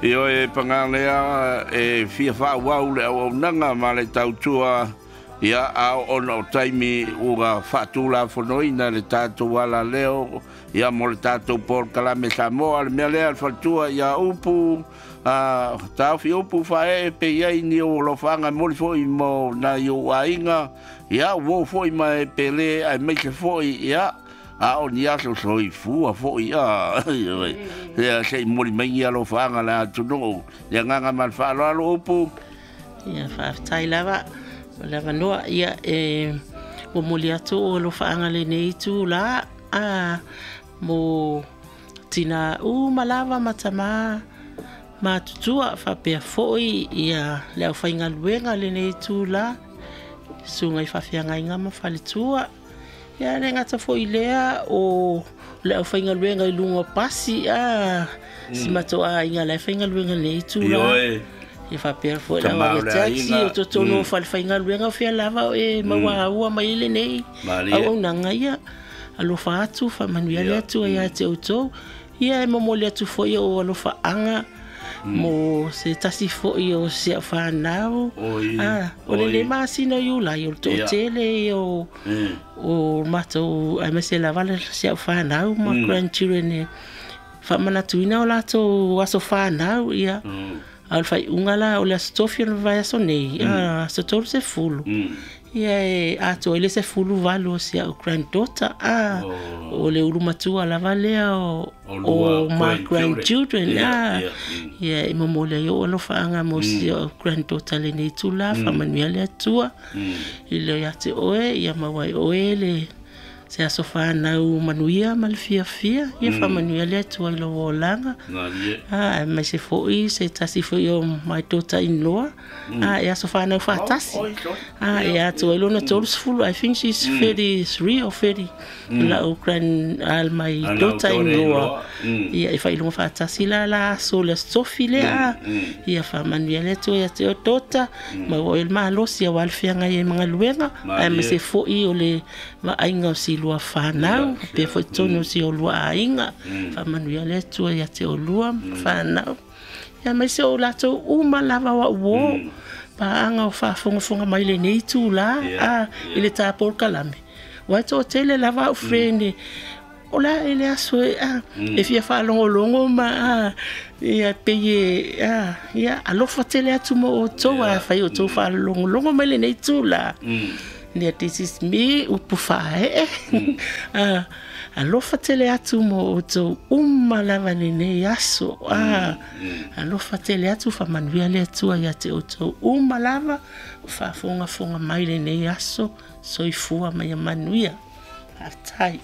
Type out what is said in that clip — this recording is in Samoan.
Ioe, paga lea, e fia faaauau le auaunaga ma le tautua, ia, a ona o taimi ua faatulafonoina le tatou alaleo, ia, mo le tatou polokalame Samoa. Le mea lea, le faletua ia Upu, a taofi Upu Faaee, pe i ai ni ou alofaga e moli foi mo nai ou aiga, ia, uo foi ma e pele aemaise foi, ia, a o ni aso soifua foi, a ia se i moli mai ni alofaga le atunuu. Le agaga ma le faaaloalo, Upu. Ia, faafetai lava o le avanoa. Ia, e momoli atu o alofaaga lenei itulā a mo tinā uma lava ma tamā matutua, faapea foi ia le aufaigaluega lenei itulā, susuga i faafeagaiga ma faletua. Ia, le gata foi lea o le aufaigaluega i luga o pasi a si matou aiga la e faigaluega lenei itulā. Ia, faapea foi le Tama o le taxi aiga. O totonu o falefaigaluega, o fea lava o e mauaua mai lenei auaunaga. Ia, alofa atu, faamanuia le Atua ia te outou. Ia, e momoli atu foi o alofaaga mo se tasi foi o si au fanau. Ah, o lenei masina o Iulai, o le toatele ia o o matou aemaise lava le si au fanau ma grandchildren e faamanatuina o latou aso fanau. Ia, a o le faaiuga la o le aso Tofi o le vaiaso nei, aso 30, ia, e atoa ai le 18 o si au granddaughter, a o le ulu matua lava lea o O lua o my grandchildren. grandchildren. A ia, e momoli ai ou alofaaga mo si au granddaughter lenei itulā. Faamanuia le Atua i le ia te oe, ia maua ai oe le se aso fanau manuia ma le fiafia. Ia, faamanuia le Atua i lou olaga. A aemaise foi se tasi foi o my daughter in law, a e aso fanau faatasi, a e atoa ai lona 30. I think she's 33 or 30, lau grand my daughter in law. Ia, e faailoga faatasi la la aso le aso Tofi lea. Ia, faamanuia le Atua ia te oe, daughter, maua oe le malosi aua le feagai ai ma galuega, aemaise foi o le vaaiga o si lua fanau pea foi totonu o si o lua aiga. Faamanuia le Atua ia te olua ma fanau, ia, aemaise o latou uma lava o au uō paaga o faafogafoga mai lenei itulā a i le tā polokalame, ua e toatele lava au friend o le a e le aso e a e fia faalogologo ma a ia pei e a. Ia, alofa tele atu mo outou a fai outou faalogologo mai lenei itulā. Yeah, this is me, Upu Faaee. Alofa tele atu mo outou uma lava lenei aso. Alofa tele atu, faamanuia le Atua ia te outou uma lava o faafogafoga mai lenei aso. Soifua ma ia manuia. Faafetai.